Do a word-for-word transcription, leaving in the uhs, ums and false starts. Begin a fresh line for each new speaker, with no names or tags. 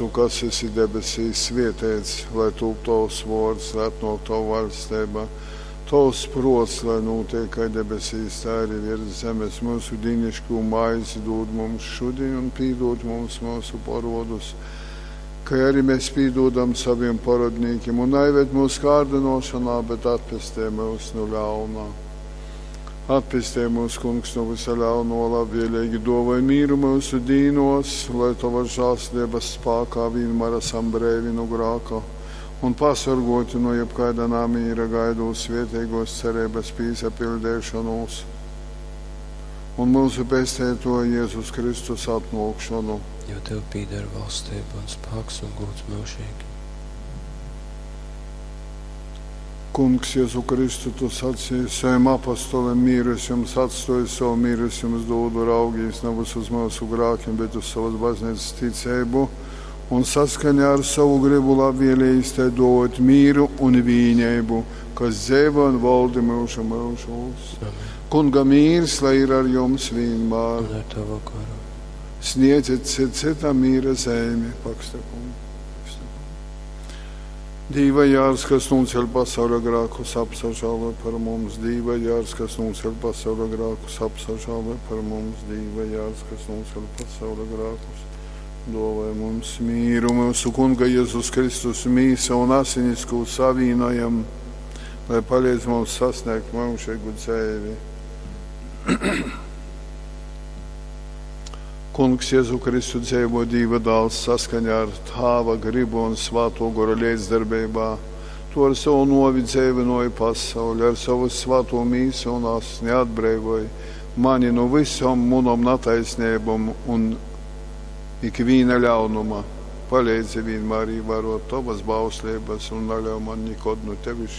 myusu, kas esi debesīs, svēteits lai tūp tovs vōrds, lai atnōk tova vaļsteiba. Tovs prōts lai nūteik kai debesīs, tai arī viers zemes. Myusu dīniškū maizi dūd mums šudiņ un pīdūd mums myusu porōdus, kai arī mēs pīdūdam savim porōdnīkim. Un naived myusu kārdynōšonā, bet atpestej myus nu ļauna. Atpestej mūs, Kungs, no visa ļauno, labvēlīgi dōvoj mīru myusu dīnos, lai Tavas žēlastības spākā vienmēr esam breivi nu grāka un pasorgoti no jebkaida namīra, gaidot svētīgos cerības pīsapildīšanos un mūsu pestītoja Jēzus Kristus atnākšanu.
Jo tev pīder valstība un spēks un gods mūžīgi.
Kungs, Jēzu Kristu, tu sacīji saviem apostoliem, mīru es jums atstoju, savu mīru es jums dodu, raugīs nevis uz mūsu grākiem, bet uz savas baznīcas ticību, un saskaņā ar savu gribu labvēlījis tai dot mīru un vīņēbu, kas dzīvo un valdi mūžu mūžos.
Amen.
Kunga mīrs, lai ir ar jums vienmēr.
Un ar tavu garu.
Sniedziet cit citam mīra zeimi, paksta kungu. Dīva jārs, kas nūceļ pasaules grākus, apsažāloj par mums. Dīva jārs, kas nūceļ pasaules grākus, apsažāloj par mums. Dīva jārs, kas nūceļ pasaules grākus, dāvāj mums mīru. Mūsu Kunga Jēzus Kristus mīsa un asinis, ko savīnojam, lai palīdz mums sasniegt mūžīgu dzīvi. Kungs Jēzu Kristu dzīvo Dieva dēls saskaņā ar Tāva gribu un Svēto Gora līdzdarbībā. Tu ar savu novi dzīvinoji pasauli, ar savu svēto mīsu un asni atbrīvoji mani no visām munom netaisnībām un ikviena ļaunuma. Palīdzi vienmēr ievērot tavas bauslības un neļauj man nekad no tevis